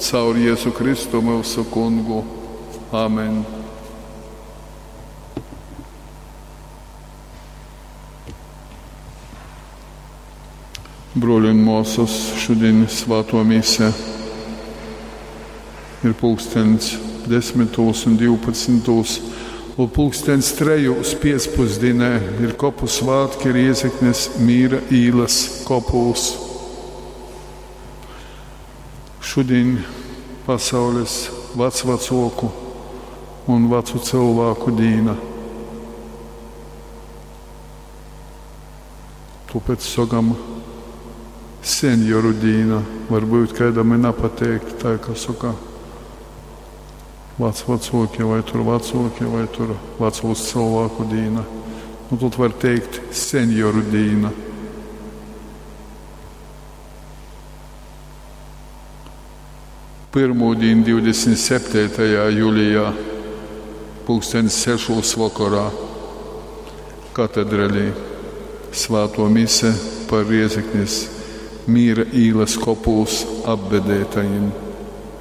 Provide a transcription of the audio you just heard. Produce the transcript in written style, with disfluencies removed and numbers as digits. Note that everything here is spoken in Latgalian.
Caur Jezu Kristu myusu Kungu. Amen. Bruoļi un muosys, šudiņ svātuo mise ir pulksteņs desmitūs un 12. Un pulksteņs trejūs piecpusdīnē ir kopu svātki Riezeknes Mīra īlas kopūs. Šudiņ pasaules vecvacuoku un vacu cylvāku dīna. Tuopēc sokam senioru dīna. Varbyut kaidam i napateik tai, ka soka vecvacuoki vai tur vacuoki vai tur vacūs cylvāku dīna. Nu, tod var teikt senioru dīna. Pyrmūdīn 27. julijā pulksteņs sešūs vokorā katedrelī svātuo mise par Riezeknis Mīra īlas kopūs apbedeitajim.